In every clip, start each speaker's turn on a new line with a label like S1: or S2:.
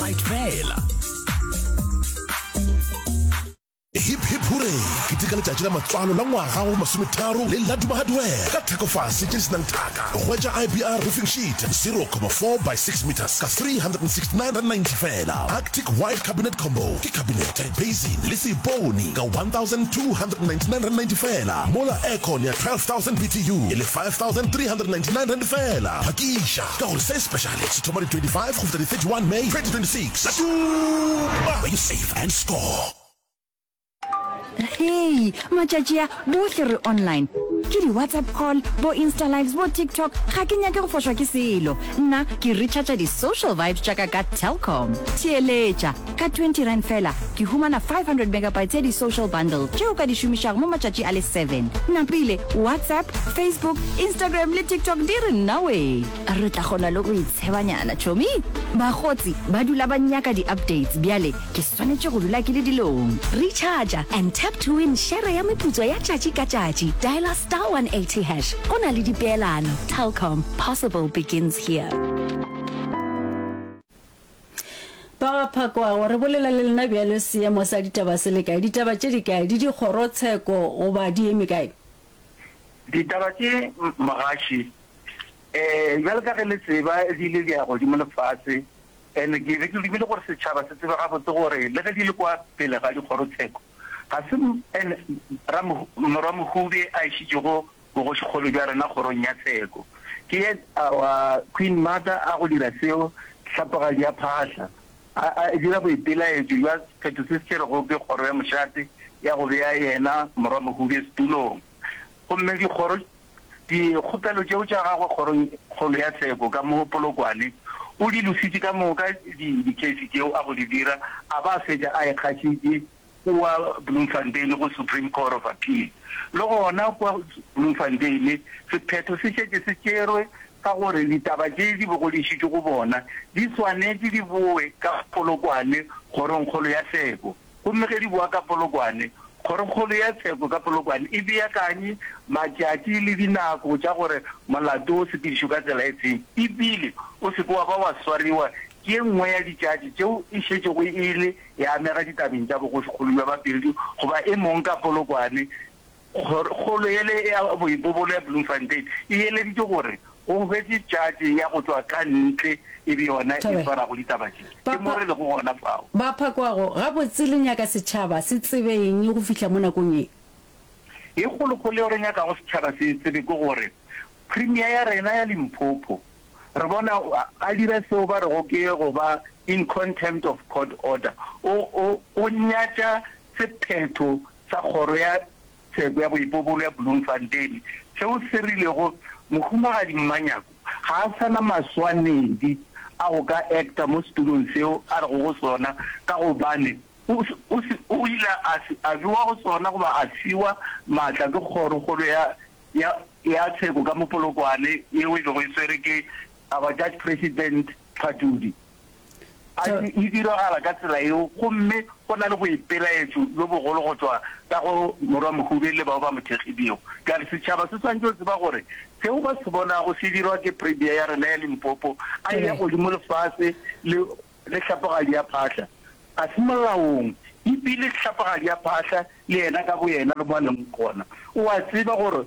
S1: megabyte fela.
S2: Hip hip hooray! Keteka letšatši la matswalo la ngwaga wa bomasometharo le Laduma Hardware ka thekofase tše di se nang thaka. Hwetša IBR roofing sheet 0,4 by 6 metres ka R369.90 feela. Arctic White Cabinet Combo ke kabinete, basin le seipone ka R1,299.90 feela, mola aircon ya 12,000 BTU e le R5,399 feela. Phakiša ka gore se speciale se thoma di 25 go fihla di 31 May 2026. Laduma, where you save and score.
S3: Hei, matšatši a bohle re online. Ke di-WhatsApp call, bo Insta lives, bo TikTok, ga ke nyake go fošwa ke selo. Nna ke recharger di-social vibes tša ka ka Telkom. Theeletša, ka R20 fela ke humana 500 megabytes ya di-social bundle tše o ka di šomišago mo matšatši a le seven. Napile, WhatsApp, Facebook, Instagram le TikTok di re nnawee. Re tla kgona le go itshebanyana, tšhomi. Bakgotsi ba dula ba nyaka di-updates, bjale ke swanetše go dula ke le dilong.
S4: Recharger and tap to win šere ya meputso ya tšatši ka tšatši. Dialer star 180 hash. Go na le dipeelano. Telkom, possible begins here.
S5: Ba ga Phakwago, re bolela le lena bjalo seemo sa ditaba se le kae? Ditaba tše di kae? Di dikgorotsheko goba di eme kae?
S6: Ditaba tše mogaši, um bjalo ka ge le tseba di ile di ya godimo le fase And ke be ke dumile gore setšhaba se tsebe gabotse gore le ge di le kwa pele ga dikgorotsheko, ga se and Morwa Mohube a išitšego bogošikgolo bja rena kgorong ya tsheko. Ke ye our Queen Mother a go dira seo, hlapogadi ya phahla, a a dira boipelaetšo bja sephetho se se tšerwego ke kgoro ya mošate ya go bea yena Morwa Mohube setulong. Gomme dikgoro Dikgopelo tšeo tša gagwe kgorong kgolo ya tsheko ka mo Polokwane, o di lositše ka moka di dicase tšeo a go di dira a ba a fetša a ikgašitše kua Bloemfontein go Supreme Court of Appeal. Le gona kua Bloemfontein sephetho se šetše se tšerwe sa gore ditaba tše di bego di išitšwe go bona di swanetše di boe ka Polokwane kgorong kgolo ya tsheko. Gomme ge di boa ka Polokwane, Kgorokgolo ya Tsheko ka Polokwane e beakanye matšatši le dinako tša gore molato o sepedišwe ka tsela e feng, e bile o se ke wa ba wa swariwa ke ye nngwe ya ditšatši tšeo e šetšego e le ya amega ditabeng tša bogošikgolo bja Bapedi goba e mong ka Polokwane. Kgoro yele ya boipobolo ya Bloemfontein e eleditše gore go hwetše tšatši ya go tšwa ka ntle e be yona e swarago ditaba tše. Ke mo re lego gona fao.
S5: Ba phakwago, Gabotse le nyaka setšhaba se tsebe eng go fihla mo nakong ye?
S6: Ye kgolokgolo yeo re nyakago setšhaba se e tsebe ke gore Premier ya rena ya Limpopo re bona a dira seo ba rego ke go ba in contempt of court order. O, o, o nyatša sephetho sa Kgoro ya Tsheko ya Boipobolo ya Bloemfontein seo se rilego Mohumagadi Mmanyako ga a sa na maswanedi a go ka acta mo setulong seo a rego go sona ka gobane o, o, o ile a, a bewa go sona goba a fiwa maatla ke Kgorokgolo ya, ya, ya Tsheko ka mo Polokwane yeo e bego e swere ke our Judge President Phatudi. A e diragala ka tsela yeo, gomme go na le boipelaetšo bjo bogolo go tšwa ka go Morwa Mohube le bao ba mo thekgilego. Bjale setšhaba se swanetše go tseba gore seo ba se bonago se dirwa ke Premier ya rena ya Limpopo a eya godimo le fase le le hlapogadi ya phahla ga se molaong, e bile hlapogadi ya phahla le yena ka boyena le mo a leng gona o a tseba gore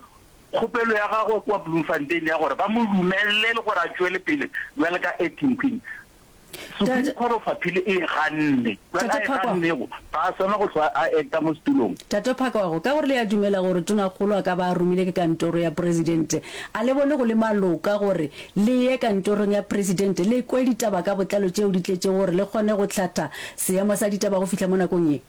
S6: Kgopelo ya gagwe kua Bloemfontein ya gore ba mo dumelele gore a tšwele pele bjalo ka acting queen, Supreme Court of Appeal e e ganne. Bjale a e gannego, ga a swanela go hlwa a acta mo setulong.
S5: Tate Phakwago, ka gore le a dumela gore Tonakgolo a ka ba a romile ke kantoro ya Presidente, a le bone go le maloka gore le ye kantorong ya Presidente le kwe ditaba ka botlalo tšeo di tletšego gore le kgone go hlatha seemo sa ditaba go fihla mo nakong ye?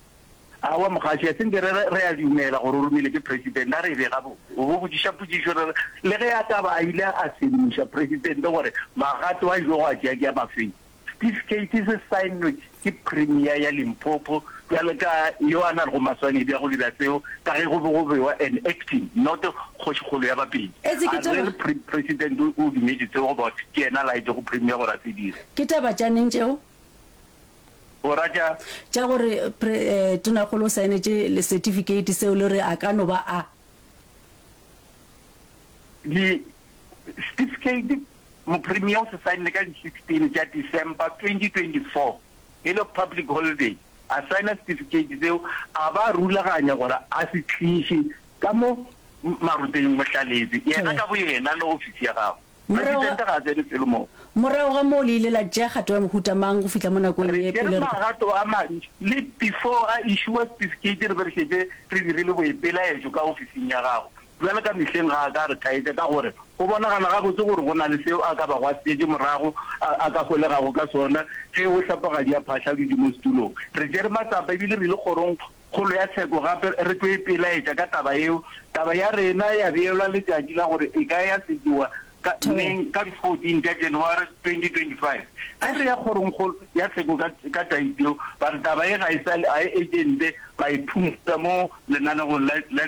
S6: Aowa mogaši, a se nke re re re a dumela gore o romile ke President, a re e be gabotse. O bo botšiša potšišo re re le ge a ka ba a ile a sedimoša President gore magato a ilego a tšea ke a mafeng. Setifikeiti se saennwe ke Premier ya Limpopo bjalo ka yo a na lego maswanedi a go dira seo ka ge go be go bewa an acting not kgošikgolo ya Bapedi.
S5: Etse ke
S6: A re
S5: taba.
S6: re President o dumetše seo goba ke yena a laetšego Premier gore a se dire.
S5: Ke taba tša neng tšeo?
S6: O ra tša?
S5: Tša gore pre, Tonakgolo o saenetše le setifikeiti seo le re a ka no ba a.
S6: Di setifikeiti Mopremier o se saenne ka di 16 tša December 2024. E le public holiday, a saena setifikeiti seo, a ba a rulaganya gore a se tliše ka mo Maroteng Mohlaletse, yena ka boyena le ofisi ya gagwe. Presidente ga a tsene felo moo.
S5: Morago ga moo le ile la tšea kgato ya mohuta mang go fihla mo nakong
S6: Re
S5: ye
S6: tšere
S5: pele re.
S6: magato a mantši. Le before a issuer setifikeiti re be re šetše re dirile boipelaetšo ka ofising ya gagwe. Bjale ka mehleng ga a ka a re thaetša ka gore go bonagala gabotse gore go na le seo a ka bago a setšetše morago a, a ka holegago ka sona ge o hlapogadi a phahla dutše mo setulong. Re tšere matsapa ebile re ile kgorong kgolo ya tsheko gape re tlo ipelaetša ka taba yeo. Taba ya rena ya beelwa letšatši la gore e ka ya sekiwa ka neng, ka di 14 tša January 2025. Ge re ya kgorongkgolo ya tsheko ka, ka tšatši leo, ba re taba ye ga e sa le, ga e urgente, ba e phumula mo lenanegong la, la,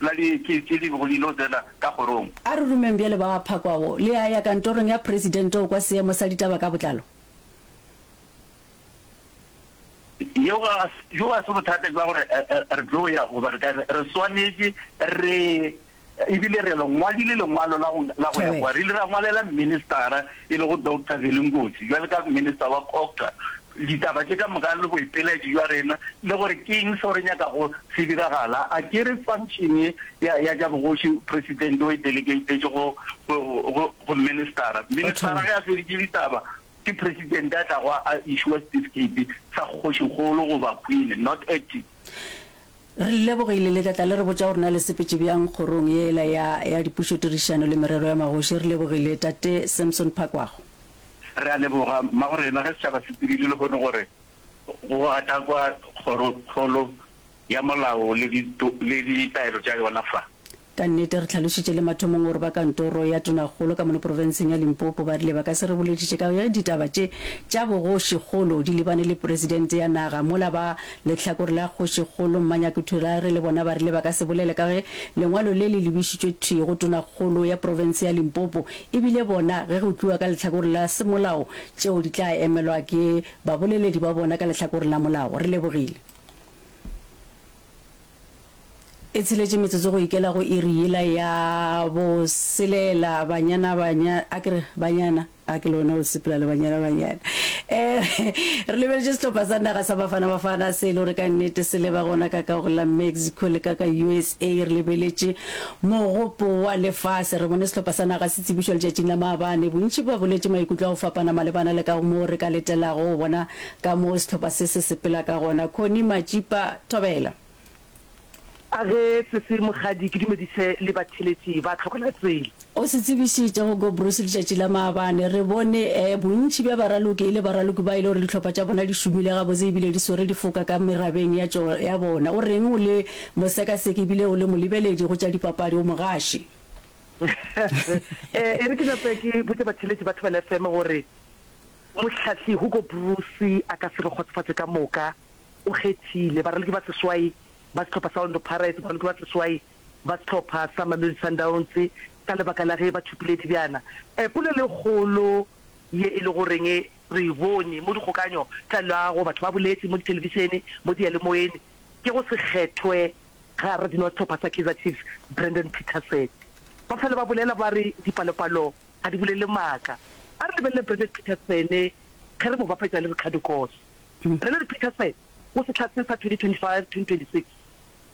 S6: la di-case tše di bego di ilo tsena ka kgorong.
S5: A re rumeng bjale ba phakwago. Le a ya kantorong ya presidente go kwa seemo sa ditaba ka botlalo.
S6: Yeo ga, bjo ga se bothata bja gore re tlo ya goba re ka re, re swanetše re, ebile re le ngwadile lengwalo la go, la go ya kwa. Re ile ra ngwalela ministara e lego Doctor Veli Nkosi bjalo ka minister wa COGTA ditaba tše ka moka le boipelaetšo bja rena le gore ke eng seo re nyakago se diragala. A ke re function ye ya, ya tša bogoši president o e delegatetše go, go, go, go ministara. Ministara ge a feditše ditaba Ke president a tlago a issuer certificate sa kgošikgolo goba queen, not acting.
S5: Re le lebogile le tla tla le re botša gore na le sepetše bjang kgorong yela ya ya dipušotirišano le merero ya magoši. Re lebogile Tate Samson Phakwago.
S6: Re a leboga mmagorena ge setšhaba se tsebile lehono gore go gatakwa kgorokgolo ya molao le ditaelo tša yona fa.
S5: Ka nnete, re hlalošitše le mathomong gore ba kantoro ya Tonakgolo ka mono profenseng ya Limpopo ba rile ba ka se re bolediše ka ge ditaba tše tša bogošikgolo di lebane le Presidente ya naga mola ba lehlakore la Kgošikgolo Mmanyako Thulare le bona ba rile ba ka se bolele ka ge lengwalo le le lebišitšwe thwi go Tonakgolo ya profense ya Limpopo ebile bona ge go tliwa ka lehlakore la semolao tšeo di tla emelwa ke baboleledi ba bona ka lehlakoreng la molao. Re lebogile. E tsheletše metsotso go ikela go iri yela ya boselela. Banyana, banya, a ke re, banyana, a ke le wena o sepela le banyana, banyana. Eh, re lebeletše sehlopha sa naga sa Bafana Bafana se e le gore ka nnete se leba gona ka ka go la Mexico le ka ka USA. Re lebeletše mogopo wa lefase. Re bone sehlopha sa naga se tsebišwa letšatšing la maabane. Bontši ba boletše maikutlo a go fapana malebana le ka moo re ka letelago go bona ka moo sehlopha se se sepela ka gona. Connie Matšipa, Thobela.
S1: A ge sese Mokgadi ke dumedise le batheeletši ba Tlhokela Tsela.
S5: O se tsebišitše go Go Bruce letšatši la maabane. Re bone eh bontši bja baraloki e le baraloki ba e le gore dihlopha tša bona di šomile gabotse ebile di swere difoka ka merabeng ya tšo ya bona. O reng o le mosekaseki ebile o le molebeledi go tša dipapadi, o mogaši?
S1: Eh e re ke nape ke botše batheeletši ba Thobela FM gore mohlahli Hugo Broos a ka se re kgotsofatše ka moka. O kgethile baraloki ba seswai ba sehlopha sa Orlando Pirates, baraloki ba seswai ba sehlopha sa Mamelodi Sundowns ka lebaka la ge ba thopile dibjana. Polelo e kgolo ye e le goreng re e bone mo dikgokanyo tša leago, batho ba boletše mo dithelebišene, mo diyalemoyeng, ke go se kgethwe ga radino wa sehlopha sa Kaizer Chiefs, Brandon Petersen. Ba fela ba bolela ba re dipalopalo ga di bolele maaka. A re lebelele Brandon Petersen ge re mo bapetša le Ricardo Goss. Brendan Petersen go sehla se sa 2025-2026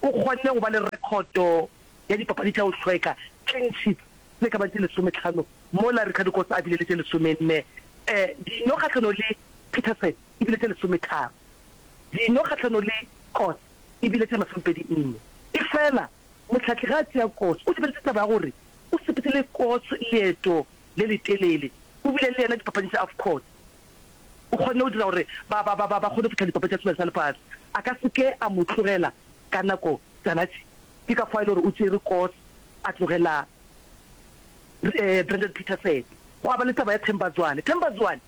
S1: o kgonne go ba le rekhoto ya dipapadi tša go hlweka, clean sheets, tše ka bang tše lesometlhano mola Ricardo Goss a bile le tše lesomenne. Dino kgahlanong le Petersen e bile tše lesometharo, dino kgahlanong le Goss e bile tše masomepedi nne. Efela mohlahli ge a tšea Goss o lebeletše taba ya gore o sepetše le Goss leeto le letelele, o bile le yena dipapading tša AFCON. O kgonne go dira gore ba, ba, ba, ba, ba kgone go fihla dipapadi tša Sebjana sa Lefase. A ka se ke a mo tlogela ka nako tšana tše. Ke ka fao e le gore o tšere Koos a tlogela eh, Brandon Petersen. Gwa ba le taba ya Themba Zwane. Themba Zwane,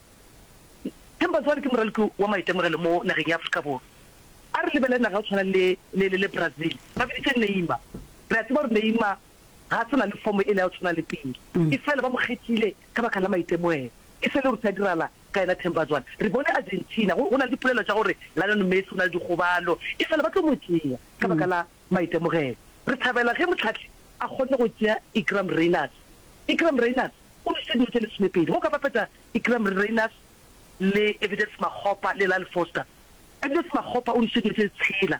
S1: Themba Zwane ke moraloki wa maitemogelo mo nageng ya Afrika Borwa. A re lebelele naga ya go tshwana le, le, le, le Brazil. Ba biditše Neymar. Re a tseba gore Neymar ga a sa na le fomo ele ya go tshwana le pele. Efela ba mo kgethile ka baka la maitemogelo. E se le gore se a dirala ka yena Themba Zwane. Re bone Argentina, go, go na le dipolelo tša gore Lionel Messi o na le dikgobalo, efela ba tlo mo tšea ka baka la maitemogelo. Re thabela ge mohlahli a kgonne go tšea Iqraam Rayners. Iqraam Rayners o nwešitše dino tše lesomepedi. Ge o ka bapetša Iqraam Rayners. le Evidence Makgopa le Lyle Foster. Evidence Makgopa o nwešitše dino tše tshela,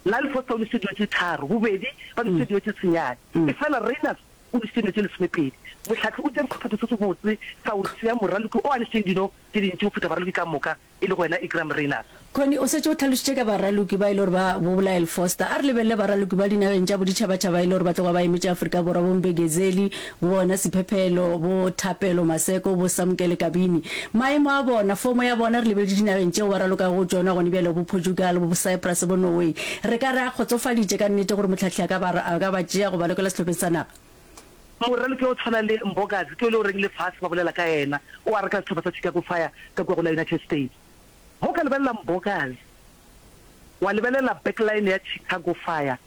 S1: Lyle Foster o nwešitše dino tše tharo, bobedi ba nwešitše dino tše senyane. Efela Rayners o nwešitše dino tše lesomepedi. Mohlahli o tšere sephetho se sebotse sa go tšea moraloki o a nwešitšeng dino tše dintši go feta baraloki ka moka, e lego yena Iqraam Rayners.
S5: Connie, o šetše o hlalošitše ka baraloki ba e le gore ba bo Lyle Foster. A re lebelele baraloki ba dinageng tša boditšhabatšhaba e le gore ba tloga ba emetše Afrika Borwa, bo Mbekezeli, bo bona Siphephelo, bo Thapelo Maseko, bo Samkele Kabini. Maemo a bona, fomo ya bona, re lebeletše dinageng tšeo ba ralokago go tšona gone bjale, bo Portugal, bo Cyprus, bo Norway. Re ka re a kgotsofaditše ka nnete gore mohlahli a ka ba, a ka ba tšea go ba lokela sehlopheng sa naga?
S1: Moraloki wa go tshwana le Mbokazi ke yo e le goreng lefase ba bolela ka yena, o a reka sehlopha sa Chicago Fire ka kua go la United States. Ge o ka lebelela Mbokazi, wa lebelela backline ya Chicago Fire,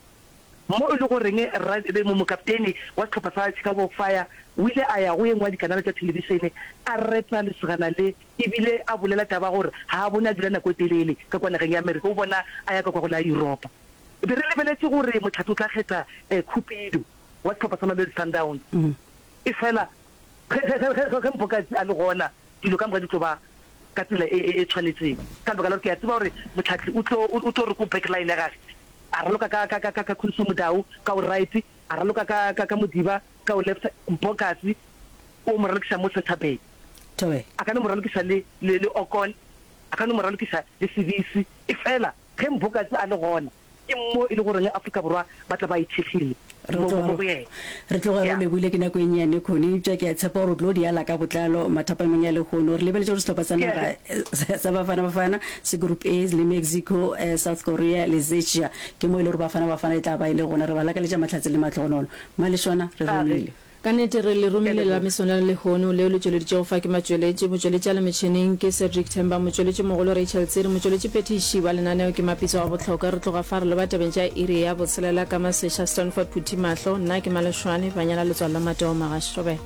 S1: mo e le goreng ra, mo, mokaptene wa sehlopha sa Chicago Fire o ile a ya go ye nngwe ya dikanale tša thelebišene, a reta lesogana le, ebile a bolela taba ya gore ga a bone a dula nako e telele ka kua nageng ya Amerika, o bona a ya ka kua go la Yuropa. Be re lebeletše gore Motlhatse o tla kgetha Cupido wa sehlopha sa Mamelodi Sundowns, efela Ge, ge, ge, ge, ge Mpokazi a le gona, dilo ka moka di tlo ba ka tsela e, e, e tshwanetseng. Ka lebaka la gore ke a tseba gore Mohlahli o tlo, o, o tlo re ko back line ya gage, a raloka ka, ka, ka, ka, ka Khuliso Mudau ka o right, a raloka ka, ka, ka Modiba ka o left, Mpokazi o mo ralokiša mo centre back.
S5: Thobela.
S1: A ka no mo ralokiša le, le, le Okon, a ka no mo ralokiša le Sibisi, efela ge Mpokazi a le gona, Ke mo e le goreng Afrika Borwa ba tla ba ithekgile
S5: Re
S1: mo, mo,
S5: tloga
S1: mo go yena.
S5: re tloga re
S1: Ya.
S5: lebile ke nako e nnyane, Connie, eupša ke a tshepa gore o tlo di ala ka botlalo mathapameng a lehono. Re lebeletše gore sehlopha sa
S1: Ke a
S5: naga
S1: le.
S5: sa Bafana Bafana se Group A le Mexico, South Korea le Czechia. Ke mo e le gore Bafana Bafana e tla ba e le gona. Re ba lakaletša mahlatse le mahlogonolo. Malešwana, re
S1: A ge.
S5: romile.
S7: Ka nnete re le
S1: Ke a
S7: romile la
S1: leboga.
S7: mesong la lehono, leo le tšweleditšego fa ke matšweletši. Motšweletši a le metšhineng ke Cedric Themba, motšweletši mogolo Rachel Tsiri, motšweletši phethiši wa lenaneo ke Mapitso wa Bohlokwa. Re tloga fa re leba tabeng tša iri ya botshelela ka Maseša Stanford Phuthimahlo. Nna ke Malešwane, Banyala Letswalo la Mateo Magaši. Thobela.